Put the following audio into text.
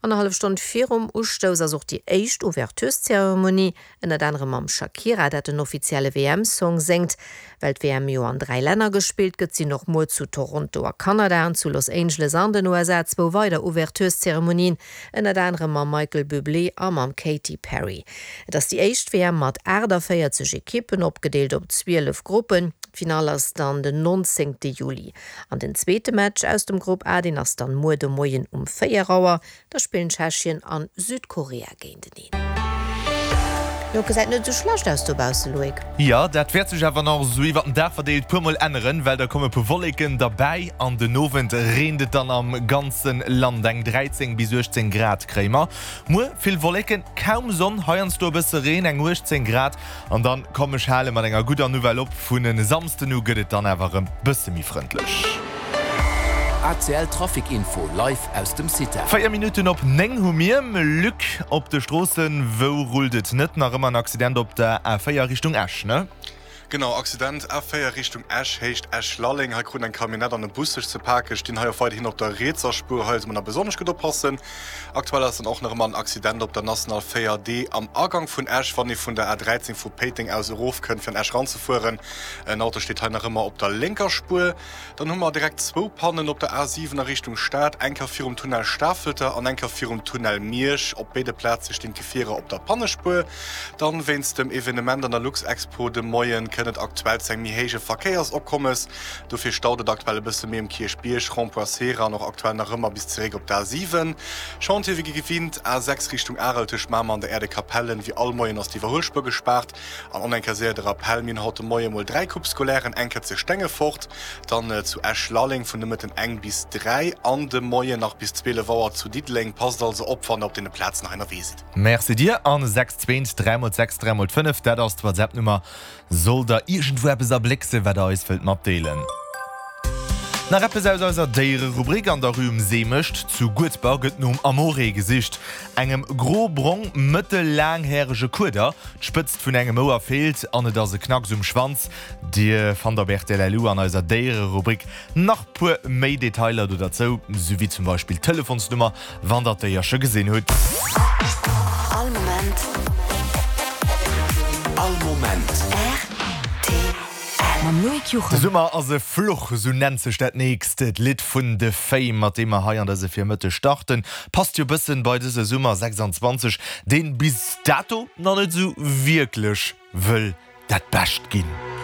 Annerhallef Stonn virum Ustouss ass och déi éischt Ouvertureszeremonie, ënnert anerem mam Shakira, dat den offizielle WM-Song séngt. Well d'WM jo an 3 Länner gespillt gëtt, sinn och muer zu Toronto a Kanada an zu Los Angeles an den USA zwou weider Ouvertureszeremonien, ënnert anerem mam Michael Bublé a mam Katy Perry. Et ass déi éischt WM mat 48 Ekippen, opgedeelt op 12 Gruppen. D'Finall ass dann den 19 Juli. An den zweete Match aus dem Grupp A, deen ass dann muer de Moien um 4 Auer. Da spillen Tschechien an Südkorea géinteneen. Jo, gesäit net esou schlecht aus dobausse, Loïc. Jo, dat wäert sech awer nach esou iwwert den Dag verdeelt puer mol änneren, well da komme puer Wolleken derbäi an den Owend reent et dann am ganze Land. Eng 13 bis 18 Grad kréie mer muer, vill Wolleken, kaum Sonn, heiansdo e bësse Reen, eng 18 Grad. An dann komm ech hale mat enger gudder Nouvelle op, Vun en Samsden u gëtt et dann awer rëm bësse méi frëndlech. ACL Trafic Info live aus dem CITA. 4 Minutten op 9 hu mir. Luc, op de Stroossen, wou rullt et net? Nach ëmmer en Accident op der A4 Richtung Esch, ne? Genau, Accident A4 Richtung Esch, Héicht Esch-Lalleng. Hei kruten eng Camionnette an e Bus sech ze paken, stinn hei och weiderhin op der rietser Spuer. Hei soll man nach besonnesch gutt oppassen. Aktuell ass dann och nach ëmmer en Accident op der National 4 D am Agank vun Esch, wann ee vun der A13 vu Péiteng aus erofkënnt fir an Esch eranzefueren. En Auto steet hei nach ëmmer op der lénker Spuer. Dann hu mer direkt zwou Pannen op der A7 a Richtung Stad, eng Kéier virum Tunnel Stafelter an eng Kéier virum Tunnel Miersch. Op béide Plaze stinn d'Gefierer op der Pannespuer. Dann wéinst dem Evenement an der Luxexpo de Moien kënnt et aktuell zu engem méi héije Verkéiersopkommes. Dofir staut et aktuell e bësse méi um Kierchbierg, Rond-point Sera an och aktuell nach ëmmer bis zeréck op d'A7. Chantier wéi gewinnt, A6 Richtung Arel tëscht Mamer an der Aire de Capellen. Wéi all Moien ass d'Iwwerhuelspuer gespaart. An och eng Kéier séier de Rappell, Mir hunn haut de Moie mol 3 Coupes scolaires, eng Kéier zu Stengefort, dann zu Esch-Lalleng vun de Mëtten eng bis 3 an de Moien nach bis 12 Auer zu Diddeleng. Passt also op, wann der op deene Plazen hei ënnerwee sidd. Merci dir. An 6 2 3 mol 6 3 mol 5, dat ass d'WhatsApp-Nummer. Sollt der iergendwou eppes erblécksen, wat der eis wëllt matdeelen? Nach eppes aus eiser Déiererubrik, An der Rue Um Seemecht zu Guedber gëtt nom Amore gesicht, engem gro-brong, mëttel-laanghärege Kueder. D'Spëtzt vun engem Ouer feelt an et ass e Knacks um Schwanz. Dir fannt op rtl.lu an eiser Déiererubrik nach puer méi Detailer do derzou, souwéi zum Beispill d'Telefonsnummer Wann der d'Déierche gesinn hutt. All Moment. All Moment. Rtl. Mam Loïc Juchem. De Summer ass e Fluch, esou nennt sech dat nächst Lidd vun de Fame, mat deem mer hei an dëse Virmëtteg starten. Passt jo bëssen bei dëse Summer 26, deen bis dato nach net esou wierklech wëll dat Bescht ginn.